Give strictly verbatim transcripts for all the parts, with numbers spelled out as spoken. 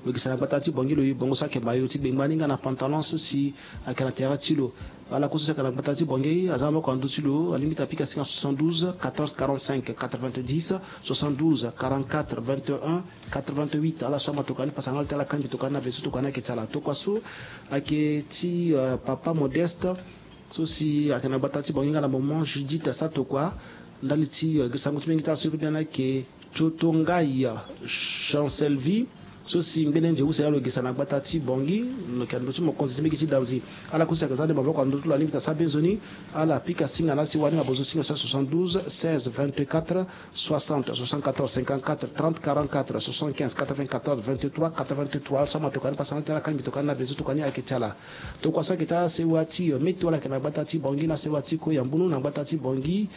Lo gesa na gbata ti Bongi lo ye bongo so ayeke mayo ti gbengba ni nga na pantalon so si ayeke na tere ti lo. Ala kue so si ayeke na gbata ti Bongi aza na maboko na ndö ti lo, alingbi ti apika singa soixante-douze quatorze quarante-cinq quatre-vingt-dix, soixante-douze quarante-quatre vingt et un quatre-vingt-huit. Ala so amatoka ni pasa na ala ti ala kangbi tokua ni na be so tokua ni ayeke ti ala. Tokua so ayeke ti, euh, papa Modeste so si ayeke na gbata ti Bongi nga na moment Judith asa tokua ndali ti, euh, sango ti mingi ti ala so e lobi ni ayeke Tiotongai Chancelvi so si ngbene nze use na lo gesa na gbata ti Bongi. Lo yeke na ndö ti mokonzi ti mbege ti danzi. Ala kue si ayeke za nde maboko na ndö ti lo alingbi ti asara be nzoni. Ala pika singa na asewa ni na bozo singa so soixante-douze seize vingt-quatre soixante soixante-quatorze cinquante-quatre trente quarante-quatre soixante-quinze quatre-vingt-quatorze vingt-trois quatre-vingt-trois. Ala so amatoka ni pasa na ala ti ala kangbi tokua ni na be so tokua ni ayeke ti ala. Tokua so ayeke ti asewa ti, euh, meto ala yeke na gbata ti Bongi na asewa ti kue ya mbunu na gbata ti Bongi.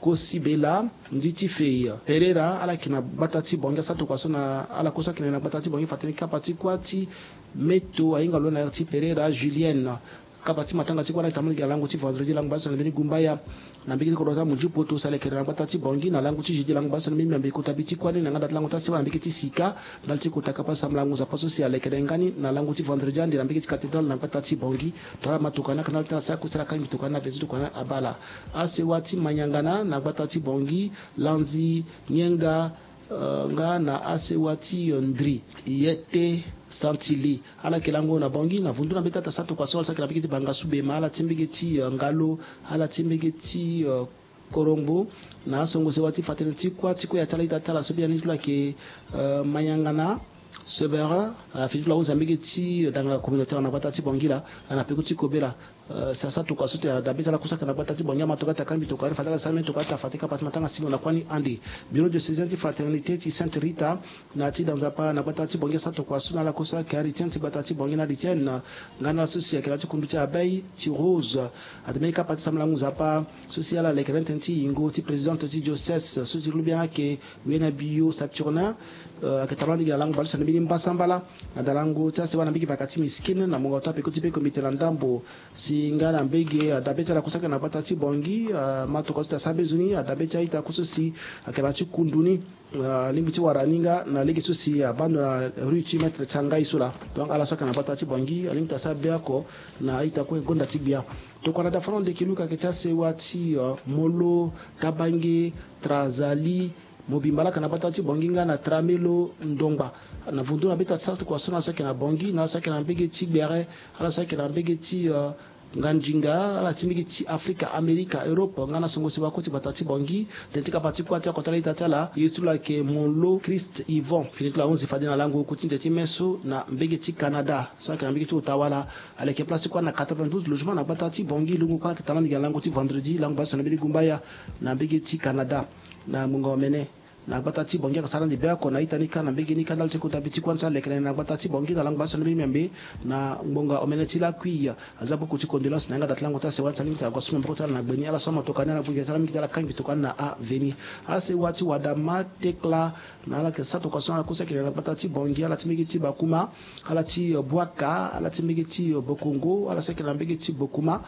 Kosi Bela, ndi ti Fei Pereira, ala yeke na gbata ti Bongi, asa tokua so na ala kue so ayeke na gbata ti Bongi, fa tënë ti kapa ti kuâ ti meto ahinga lo na ti Pereira Julienne. Kapa ti matanga ti kuâ ni ayeke tambula gi na lango ti vendredi, lango bale so na mbeni gumbaya. Na mbege ti kodro ti amunzu poto si ala yeke na gbata ti Bongi, na lango ti jeudi, lango bale so na mbeni miambe kota bi ti kuâ ni na yanga da ti lango ti asewa na mbege ti sika. Ndali ti kota kapa ti sambela ngu nzapa so si alekere nga ni na lango ti vendredi ande na mbege ti cathédrale na gbata ti Bongi. Tongana amatoka ni ayeke na ala ti ala sara kue si ala kangbi tokua ni na be so tokua ni abaa ala. Asewa ti Maniangana na gbata ti Bongi, Lanzi, Nienga, euh, nga na asewa ti, euh, Ndri, Yete, Santili. Ala yeke lango na Bongi na vundu na mbeti ata sa tokua so ala so ayeke na mbege ti Bangasubema, ala ti mbege ti, euh, Ngalo, ala ti mbege ti, euh, Korongbo, na asongo sewa ti fa tënë ti kuâ ti kue ya ti ala ita ti ala so biani ti lo ayeke, euh, Maniangana, Severin, euh, fini ti lo ahunzi na mbege ti danga communautaire na gbata ti Bongi laa, na peko ti kobe laa. Euh, si asa tokua so ti ada be ti ala kue so ayeke na gbata ti Bongi, amatoka ti akangbi tokua ni fa ti ala sara mbeni tokua ti afa ti kapa ti matanga singo na kuâ ni ande. Bureau diocésain ti Fraternité ti Sainte Rita, na ti da nzapa na gbata ti Bongi asa tokua so na ala kue so ayeke aritien ti gbata ti Bongi na aritien, nga na ala so si ayeke na ti kundu ti abei ti Rose. Ate mbeni kapa ti sambela ngu nzapa so si ala leke na tënë ti yingo ti présidente ti diocèse so ti lobi ni ayeke Wena Bio Saturnin, euh, ayeke tambula ndigi na lango bale so na mbeni mbasambala na dalango ti asewa na mbege vaka ti miskine na mongo ti apeko ti be komite na ndambo si nga na mbege ada be ti ala kue so ayeke na gbata ti Bongi, euh, amatoka so ti asara be nzoni, ada be ti a-ita kue so si ayeke na ti kundu ni. Ah, alingbi ti wara ni nga na lege so si abaa ndo na rue ti Maître Tiangai so laa. Donc ala so ayeke na gbata ti Bongi alingbi ti asara be oko na a-ita kue gonda ti gbia. Tokua na dafa ni ande yeke luka ayeke ti asewa ti, ah, Molo, Tabange, Trazali, mobimba laa ayeke na gbata ti Bongi nga na Tramelo, Ndongba. Na vundu na be ti asara tokua so na ala so ayeke na Bongi, na ala so ayeke na mbege ti Gbere, ala so ayeke na mbege ti, ah, Ngandinga, ala ti mbege ti Afrika, Amerika, Europe, nga na songo sewa kue ti gbata ti Bongi. Tënë ti kapa ti kuâ ti akota la ita ti ala ye ti lo ayeke Molo Christ Yvon. Fini ti lo ahunzi fade na lango oku ti nze ti meso na mbege ti Canada so ayeke na mbege ti Ottawa laa. Aleke place ti kuâ na quatre-vingt-douze logement na gbata ti Bongi. Lungo kuâ ni ayeke tambula ndigi na lango ti vendredi, lango bale so na mbeni gumbaya na mbege ti Canada, na ngbonga omene. Na gbata ti Bongi ayeke sara ande be oko na a-ita ni kâ na mbege ni kâ ndali ti kota bi ti kuâ ni so alekere na gbata ti Bongi na lango bale so na mbeni miambe na ngbonga omene ti lakui. Aza buku ti condolence na yanga da ti lango ti asewa ni so alingbi ti ague so maboko ti ala na gbe ni. Ala so amatoka ni ala gbu gi ti ala mingi ti ala kangbi tokua ni na aveni. Asewa ti Wadama, Tekla, na ala yeke sara tokua so na ala kue so ayeke na gbata ti Bongi, ala ti mbege ti Bakuma, ala ti, euh, Bwaka, ala ti mbege ti, euh, Bokongo, ala so ayeke na mbege ti Bokuma.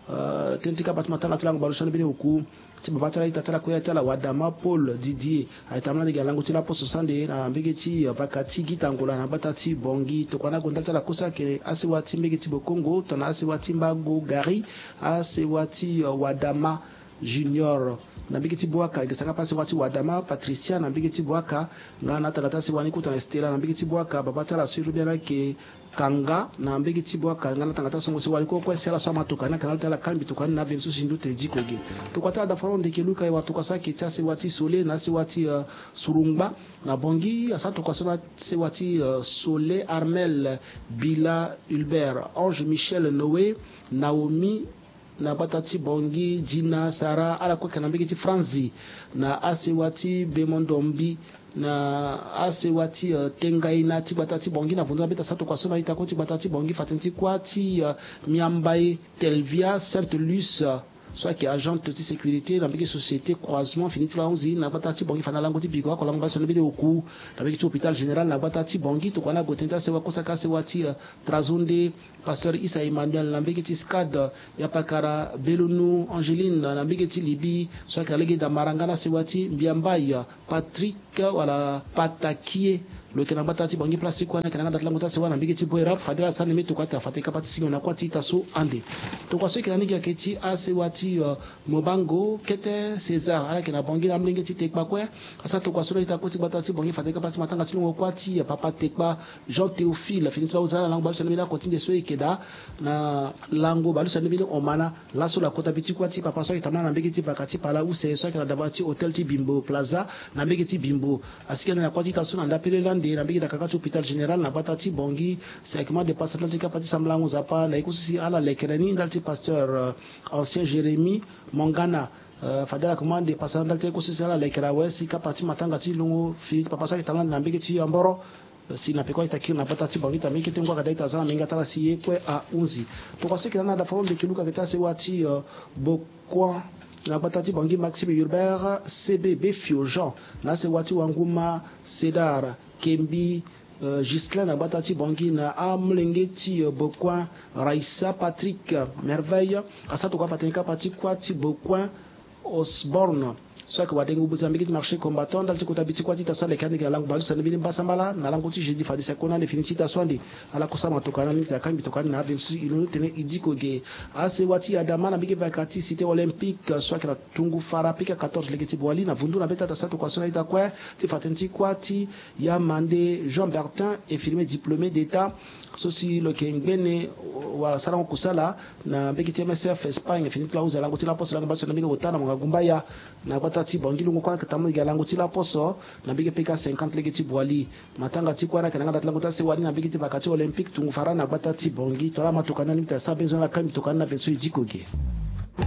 Euh, tënë ti kapa ti matanga ti lango bale so na mbeni oku ti baba ti ala, ita ti ala, kue ya ti ala Wadama Paul Didier. Ayeke tambula ndege na lango ti laposo so ande na mbege ti, euh, vaka ti Gita Ngola na gbata ti Bongi. Tokua ni ague ndali ti ala kue so ayeke asewa ti mbege ti Bokongo, tongana asewa ti Mbago Gari, asewa ti, euh, Wadama Junior. Na mbege ti Bwaka, e gesa nga ape asewa ti Wadama Patricia na mbege ti Bwaka. Nga na atanga ti asewa ni kota na Stella na mbege ti Bwaka, baba ti ala so e lobi ni ayeke Kanga na mbege ti Bwaka. Nga na tanga ti asongo sewa ni kue kue si ala so amatoka ni ayeke na ala ti ala kangbi tokua ni na aveni so si ndu tene diko ge. Tokua ti ala dafa lo ndeke luka e wara tokua so ayeke ti asewa ti Sole na asewa ti, euh, Surungba na Bongi. Asara tokua so na asewa ti, euh, Sole, Armel, Bila, Hulbert, Ange, Michel, Noé, Naomi, na gbata ti Bongi, Dina, Sara, ala kue ayeke na mbege ti Franzi, na asewa ti Bemondombi, na asewa ti, euh, Tengaina ti gbata ti Bongi. Na vundu na mbeti asara tokua so na a-ita kue ti gbata ti Bongi, fa tënë ti kuâ ti, euh, Miambai Telvia Sainte Luce, euh, so ayeke agente ti sécurité na mbege société Croisement, fini ti lo ahunzi na gbata ti Bongi, fa na lango ti biko oko lango bale so na mbeni oku na mbege ti hôpital général na gbata ti Bongi. Tokua ni ague tënë ti asewa kue so ayeke asewa ti, euh, Trazonde, Pasteur Issa Emmanuel na mbege ti SCAD, Yapakara Belonu Angeline na mbege ti Libye, so ayeke na lege da Maranga na sewa ti Mbiambai, Patrick wala Patakie Lo yeke na gbata ti Bangui place ti kue ni ayeke na yanga da ti lango ti asewa na mbege ti Boerap fade ala sara na mbi tokua ti afa ti kapa ti singo na kuâ ti ita so ande. Tokua so e yeke na ni gi ayeke ti asewa ti, euh, Mobango kete César ala yeke na Bangui na amolenge ti Tekpa kue. Asara tokua so na ita kue ti gbata ti Bangui fade kapa ti matanga ti lungo kuâ ti, euh, papa Tekpa Jean Théophile fini ti lo ahunzi ala na lango bale so na mbeni ako ti nde so e yeke daa na lango bale so na mbeni omana. Laso lo kota bi ti kuâ ti papa so ayeke tambula na mbege ti vaka ti pala use so ayeke na daba ti hôtel ti Bimbo Plaza na mbege ti Bimbo. Asigi ande na kuâ ti ita so na ndapele lande na mbege dakaka ti hôpital général na gbata ti Bangui. Si ayeke ma depasa ndali ti kapa ti sambalango Nzapa na ye kue so si ala lekere ni ndali ti pasteur, euh, ancien Jérémie Mongana. Euh, fade ala yeke ma depasa ndali ti ye kue so si ala lekere awe si kapa ti matanga ti lungo fini ti papa so ayeke tambula na mbege ti Yamboro. Si na peko ayeke kiri na gbata ti Bangui ti amolenge kete ngu ayeke daa ita za na menga ti ala si ye kue ahunzi. Tokua so e yeke na ni na dafa lo mbeke luka ayeke ti asewa ti, euh, Bokuan na gbata ti Bangui Maxime Hubert C B Befio Jean na asewa ti Wanguma Cédar Kembi, euh, Ghislain na gbata ti Bangui na amolenge ti, euh, Bokuan Raissa Patrick, euh, Merveille. Asara tokua afa tene kapa ti kuâ ti Bokuan Osborne so ayeke wadenge obuzi na mbege ti marché combattant ndali ti kota bi ti kuâ ti ita so aleke ande gi na lango bale so na mbeni mbasambala na lango ti jeudi fade si akona ande fini ti ita so ande. Ala kue sama tokua na ni ti akangbi tokua ni na avenue so e londo tene e diko ge. Asewa ti Adama na mbege vaka ti cité olympique so ayeke na tungu fara pika quatorze lege ti Boali na vundu na mbeta ita sara tokua so na ita kue ti fa tënë ti kuâ ti Yamande Jean Bertin, infirmier diplômé d'état so si lo yeke ngbene wala sarango kusala na mbege ti M S F Espagne fini ti lo ahunzi na lango ti laposo lango bale so na mbeni ota na monga gumbaya na gbata ti Bangui. Lungo kue ayeke tambula gi na lango ti laposo na mbege pika cinquante lege ti Boali. Matanga ti kuâ ni ayeke na yanga da ti lango ti asewa ni na mbege ti vaka ti olympique tungu fara na gbata ti Bangui. Tongana ama tokua ni na ni ti asara mbeni zo ni ala kangbi tokua ni na avenue so e diko ge.